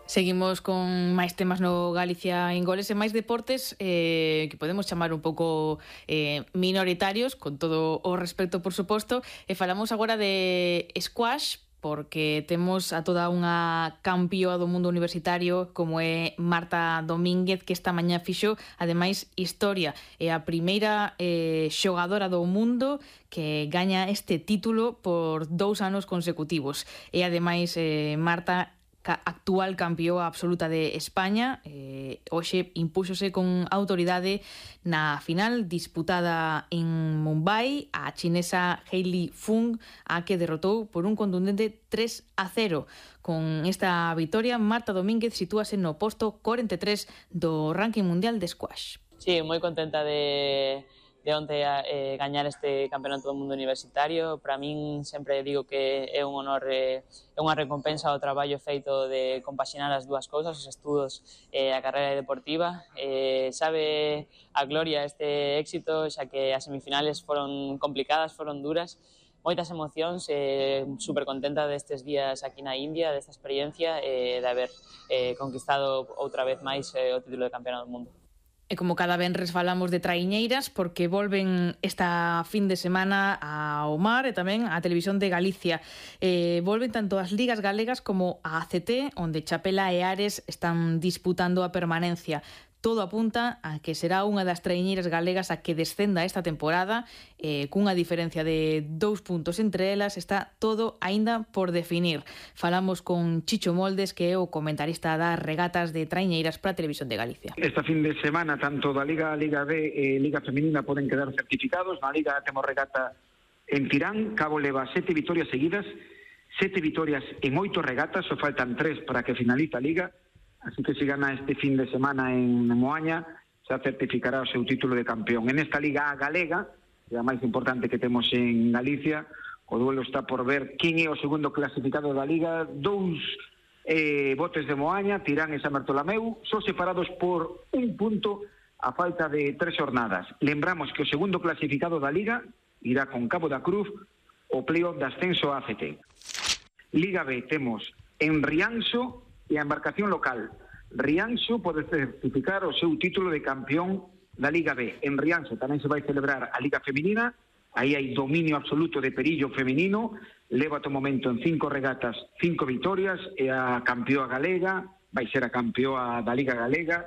Seguimos con máis temas no Galicia en Goles e máis deportes que podemos chamar un pouco minoritarios, con todo o respecto, por suposto, e falamos agora de squash, porque temos a toda unha campioa do mundo universitario como é Marta Domínguez, que esta mañá fixo, ademais, historia. É a primeira xogadora do mundo que gaña este título por 2 anos consecutivos. E ademais, Marta, actual campioa absoluta de España, hoxe impúxose con autoridade na final disputada en Mumbai a chinesa Hailey Fung, a que derrotou por un contundente 3-0. Con esta vitoria, Marta Domínguez sitúase no posto 43 do ranking mundial de squash. Sí, moi contenta de onte gañar este campeonato do mundo universitario. Para min sempre digo que é un honor, é unha recompensa ao traballo feito de compaxinar as dúas cousas, os estudos e a carreira deportiva. Sabe a gloria este éxito, xa que as semifinales foron complicadas, foron duras, moitas emocións, super contenta destes días aquí na India, desta experiencia de haber conquistado outra vez máis o título de campeona do mundo. E como cada venres falamos de traiñeiras, porque volven esta fin de semana ao mar e tamén á Televisión de Galicia. Volven tanto as ligas galegas como a ACT, onde Chapela e Ares están disputando a permanencia. Todo apunta a que será unha das traiñeiras galegas a que descenda esta temporada, cunha diferencia de 2 puntos entre elas. Está todo aínda por definir. Falamos con Chicho Moldes, que é o comentarista das regatas de traiñeiras para a Televisión de Galicia. Esta fin de semana, tanto da Liga B e Liga Feminina poden quedar certificados. Na Liga temos regata en Tirán, Cabo leva 7 vitorias seguidas, 7 vitorias en 8 regatas, só faltan 3 para que finalice a Liga. Así que se gana este fin de semana en Moaña, xa certificará o seu título de campeón. En esta Liga galega, que é a máis importante que temos en Galicia, o duelo está por ver quen é o segundo clasificado da Liga. 2 botes de Moaña, Tirán e San Bartolomeu, son separados por 1 punto a falta de 3 jornadas. Lembramos que o segundo clasificado da Liga irá con Cabo da Cruz o playoff de ascenso a ACT. Liga B temos en Rianxo e a embarcación local. Rianxo pode certificar o seu título de campeón da Liga B. En Rianxo tamén se vai celebrar a Liga Feminina, aí hai dominio absoluto de Perillo feminino, leva ata o momento en 5 regatas 5 vitorias, e a campioa galega vai ser a campioa da Liga Galega,